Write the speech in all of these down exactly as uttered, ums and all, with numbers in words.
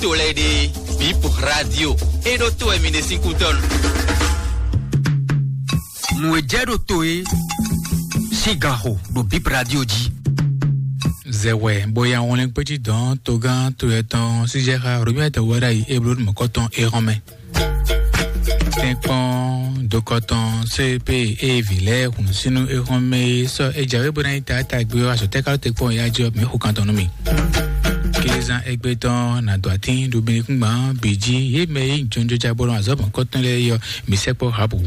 To lɛ́ɛ ɖe, Bip Radio. E ɖo to wɛ mi ɖe sín kútɔ́nu. Nǔ e jɛ ɖo to e sín gan xo ɖo Bip Radio jí. Zɛwɛ bóyá wọn lɛ́ kpé jí dɔn togán to yɛ tɔn sísɛ xa Romuald Wadagni e bló mɔ̌kɔtɔn e hɔn mɛ. Tɛ́nkpɔ́n dokɔtɔn C P e vǐ lɛ́ɛ hun sínú e hɔn mɛ e sɔ́ e jǎwe bó ná nyí taátagbe ɔ́, azɔ̌ tɛ́ ka ɖo te kpɔ́n ya jí ɔ́, mǐ xo kan tɔn nú mì. Kézán égbé tɔn nǎ dó atín ɖo binukúngban bǐ jí, yě mɛ e nyí jɔnjɔ́já bó nɔ azɔ̌ mɔ̌kɔtɔn lɛ́ɛ é ɔ́, mǐ sɛkpɔ́ Habu.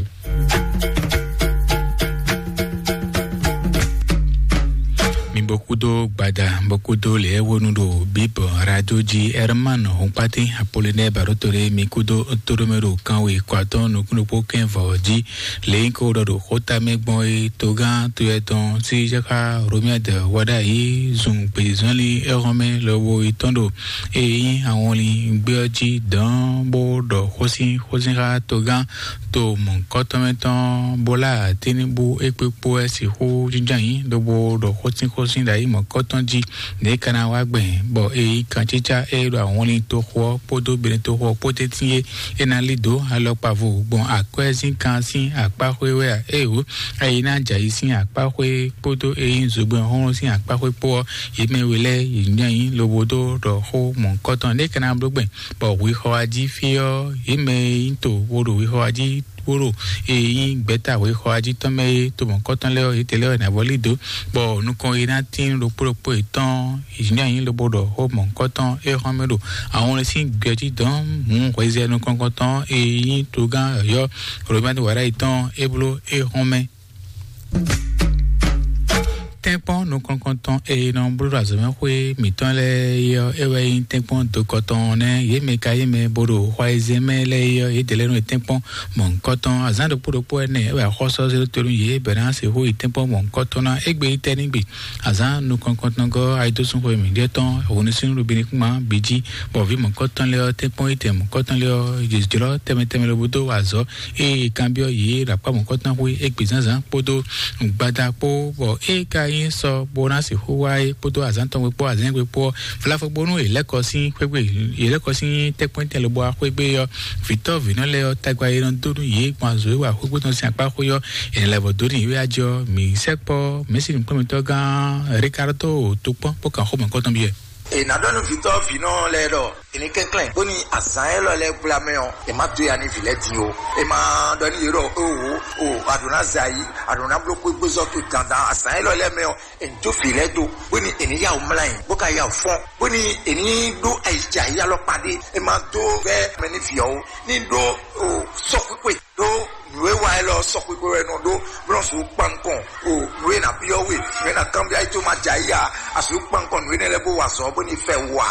Mi bó kúdó gbada, bó kúdó lě e wónú ɖo Bíbɔ Radio jí Herman Hɔnkpátín Apolinɛ́ɛ Baɖótolé, mi kúdó tóɖómɛ ɖo kanwe kɔ atɔ́ɔ́n nukúnnú kpó kɛ́n vɔ jí. Lě nyí kó ɖɔ ɖo xóta mɛ gbɔn é, togán to yɛ tɔn sí xá Romuald Wadagni zun gbězɔnlin éhɔnmɛ lɔbo yi tɔn ɖo e nyí awɔnlin gbé ɔ́ jí dɔ̌n bó ɖɔ xósin xósin xá togán to mɔ̌hunkɔtɔn mɛ tɔn bó lá atín bú é kpé kpó wɛ sixú jínjɔ́n ayǐ lobo ɖɔ xósin xósin ɖo ayǐ mɔ̌hunkɔtɔn jí ɖě é ka ná wá gbɛn, bɔ é nyí kancícá e ɖo awɔnlin toxo ɔ́ kpódó Benɛtoxo ɔ́ kpó tɛ́ntin é, é ná lí dǒ alɔkpa vo gbɔn akwɛ́zínkan sín akpáxwé wɛ a? Éeǒ, ayi ná jɛ ayǐ sín akpáxwé kpódó e nyí zogbɛ́n xóxó sín akpáxwé kpó ɔ́, yě mɛ we lɛ́ɛ yě nyí ayǐ lobo dó ɖɔ xó mɔ̌hunkɔtɔn ɖě é ka ná bló gbɛn, bɔ hwexɔ wá jí fí ɔ́, yě mɛ e nyí to bó ɖo hwexɔ wá jí bó ɖo e nyí gbɛ̌ta hwexɔ wá jí tɔn mɛ é, to mɔ̌hunkɔtɔn lɛ́ɛ ɔ́, yětɛn lɛ́ɛ wɛ è nǎ vɔ́ lí dǒ, bɔ nukɔn e ná tín ɖokpó ɖokpó yětɔn yě nyí ayǐ lobo ɖɔ xó mɔ̌hunkɔtɔn é xɔ́n mɛ ɖo ahɔnlɛ́n sín gbɛ jí dɔn hǔn hwezɛ nukɔn-nukɔntɔn e nyí togán yɔ̌yɔ́ Romani Wadagni tɔn é bló é xɔ́n mɛ. Tɛ́nkpɔ́n nukɔn-nukɔntɔn e nɔ bló ɖo azɔ̌mɛxwé mǐtɔn lɛ́ɛ é ɔ́, é wɛ nyí tɛ́nkpɔ́n dokɔtɔn nɛ́. Yě mɛ ka nyí mɛ bó ɖo xwayizɛ́n mɛ lɛ́ɛ é ɔ́, yědɛɛ lɛ́ɛ nɔ nyí tɛ́nkpɔ́n mɔ̌hunkɔtɔn. Azǎn ɖokpó ɖokpó ɛnɛ é wɛ axɔ́sɔ́ zé dó to nú yě bɔ è nǎ sixú yi tɛ́nkpɔ́n mɔ̌hunkɔtɔn ná. Égbé yi tɛ́ nígbe azǎn nukɔn-nukɔntɔn gɔ́ ayidósúnxwe mǐɖée tɔn hǔnúsúnú ɖo binukúnma bǐ jí, bɔ vǐ mɔ̌hunkɔtɔn lɛ́ɛ ɔ́, tɛ́nkpɔ́n yi tɛn mɔ̌hunkɔtɔn lɛ́ɛ ɔ́, yě jlɔ́ tɛnmɛ tɛnmɛ lobo dó wa azɔ̌. Ée è kanbyɔ́ yě ɖo akpá mɔ̌hunkɔtɔn xwé égbé zǎnzǎn kpódó gbada kpó, bɔ é ka nyí sɔ bó ná sixú wá é kpódó azǎn tɔn gbe kpó azǎn gbe kpó ɔ́, vlafɔ bónú è lɛ́ kɔ sín xwé gbe, è lɛ́ kɔ sín tɛ́nkpɔ́n tɛn lobo wá xwé gbe ɔ́, vǐtɔ́ vǐnɔ lɛ́ɛ ɔ́, tagba e nɔ dó nú yě gbɔn azɔ̌ e wa xwé gbe tɔn sín akpá xwé ɔ́, è nǎ lɛ́ vɔ dó n'i wɛ ajɔ mǐ sɛkpɔ́ mɛ̌si nǔkplɔ́nmɛtɔ́ gán Ricardo tó kpɔ́n bó kan xó mɔ̌hunkɔtɔn byɔ́ ɛ. È nǎ ɖɔ nú vǐtɔ́ vǐnɔ lɛ́ɛ ɖɔ è ní kɛnklɛ́n bóni azǎn élɔ́ lɛ́ɛ gbla mɛ ɔ́, è má dó ya nú vǐ lɛ́ɛ din ó. È má ɖɔ nú yě ɖɔ: "Oho, o, a ɖǒ ná zɛ ayǐ, a ɖǒ ná bló xwégbézɔ́ towe dandan azǎn élɔ́ lɛ́ɛ mɛ ɔ́, è ní jó vǐ lɛ́ɛ dó, bóni è ní yá wǔ mlá nyi, bó ka yá wǔ fɔ́n, bóni è ní ɖó ayǐjɛ ayǐ alɔkpa ɖé. È má dó vɛ́ mɛ nú vǐ ɔ́ ó, ní ɖó o sɔ́xwíxwe ɖó nǔ e wa élɔ́ sɔ́xwíxwe wɛ nɔ ɖó, bó nɔ sixú kpan nukɔn o nǔ e ná byɔ́ we, nǔ e ná kanbyɔ́ ayí tó má jɛ ayí ǎ. A sixú kpan nukɔn nǔ énɛ́ lɛ́ɛ bó wa azɔ̌ bóni fɛ wú ǎ."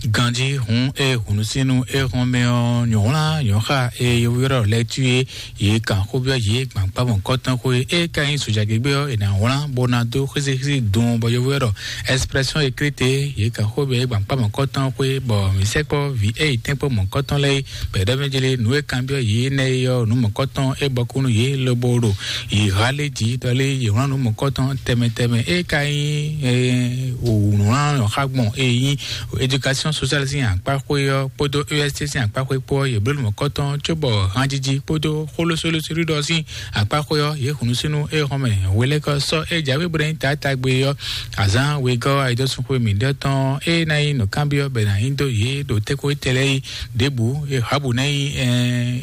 Ganjí hǔn e hǔnúsínu e hɔn mɛ ɔ́, nyɔ̌wlán nyɔ̌xa e yovó ylɔ́ lɛ́ɛ cí é, yě kan xó byɔ́ yě gbǎnkpá mɔ̌hunkɔtɔn xwé e ka nyí sojagěgbé ɔ́, è nǎ wlán bó ná dó xísíxísí dun bɔ yovó ylɔ́ ɖɔ expression écrite, yě kan xó byɔ́ yě gbǎnkpá mɔ̌hunkɔtɔn xwé, bɔ mǐ sɛkpɔ́ vǐ e yi tɛ́nkpɔ́n mɔ̌hunkɔtɔn lɛ́ɛ é, bɔ è ɖɔ mɛ jlé nǔ e kanbyɔ́ yě énɛ́ é ɔ́, nǔ mɔ̌hunkɔtɔn é bɔkú nú yě lobo ɖo yě ha lé jǐ ɖɔ lé yě wlán nǔ mɔ̌hunkɔtɔn tɛnmɛ tɛnmɛ e ka nyí wǔnwlán xá gbɔn e nyí éducation sociale sín akpá xwé ɔ́ kpódó E S T sín akpá xwé kpó ɔ́, yě bló nǔ mɔ̌hunkɔtɔn cóbɔ hanjiji kpódó xólósólósólú ɖɔ sín akpá xwé ɔ́, yě hun nú sínú é xɔ́n mɛ hwelɛ́kɔ sɔ́ é jǎwe bó ná nyí taátagbe ɔ́, azǎn wegɔ́ ayidɔ́súnxwe mǐɖɔtɔn e ná nyí nǔkanbyɔ́ bɔ è nǎ nyi dó yě ɖo tɛ́kpo étɛ́ lɛ́ɛ é ɖěbǔ, e Habu ná nyí, ɛ,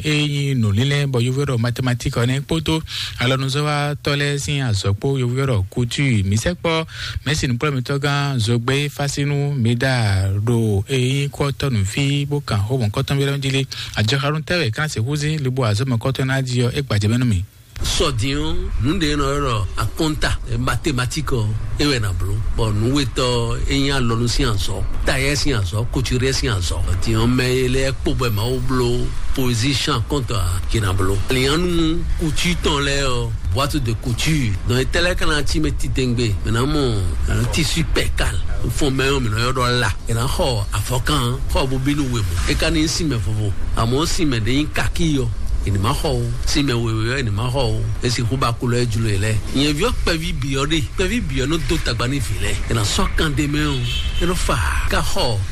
e nyí nǔlínlɛ́n bɔ yovó ɖɔ mathématique ɔ́ nɛ́ kpódó alɔnuzɔ́watɔ́ lɛ́ɛ sín azɔ̌ kpó yovó ɖɔ couture. Mǐ sɛkpɔ́ mɛ̌si nǔkplɔ́mítɔ́gán Zogbé Fásínú mi ɖa ɖo e nyí kɔ́tɔ́ nǔ fí bó kan xó mɔ̌kɔtɔn byɔ́ jí lé. Ajɔxanú tɛ́ wɛ é ká ná sixú zé lobo azɔ̌ mɔ̌kɔtɔn ná jí ɔ́, é gbajɛ mɛ nú mì. Sɔ din ɔ́, nǔ ɖé nɔ ylɔ́ ɖɔ akɔ́nta, mathématique ɔ́, é wɛ na bló. Bɔ nǔwetɔ́ é nyí alɔnu sín azɔ̌, tayɛ sín azɔ̌, couturier sín azɔ̌. Din ɔ́, mɛ e lɛ́ɛ kpo bɔ Mawu bló position akɔ́nta ǎ, yě na bló. Alianu couture tɔn lɛ́ɛ ɔ́, boîte de couture. Donc étɛ́ lɛ́ɛ ka ná cí mɛ titewungbe, mɛ ná mɔ tissu percale, fɔn mɛ ɔ́ mɛ nɔ ylɔ́ ɖɔ la. È nǎ xɔ avɔkan xɔ bó bínú wěwé. É ka ní nyí sinmɛ vovo, amɔ̌ sinmɛ ɖé nyí kakí ɔ́, è ní má xɔ o. Sinmɛ wěwé ɔ́, è ní má xɔ o. É sixú ba kulɔ é jló e lɛ́ɛ. Nyɛ̌ví ɔ́ kpɛví bǐ ɔ́ ɖe, kpɛví bǐ ɔ́ nɔ dó tagba nú vǐ lɛ́ɛ. È nǎ sɔ́ kan ɖé mɛ ɔ́, é nɔ fa ká xɔ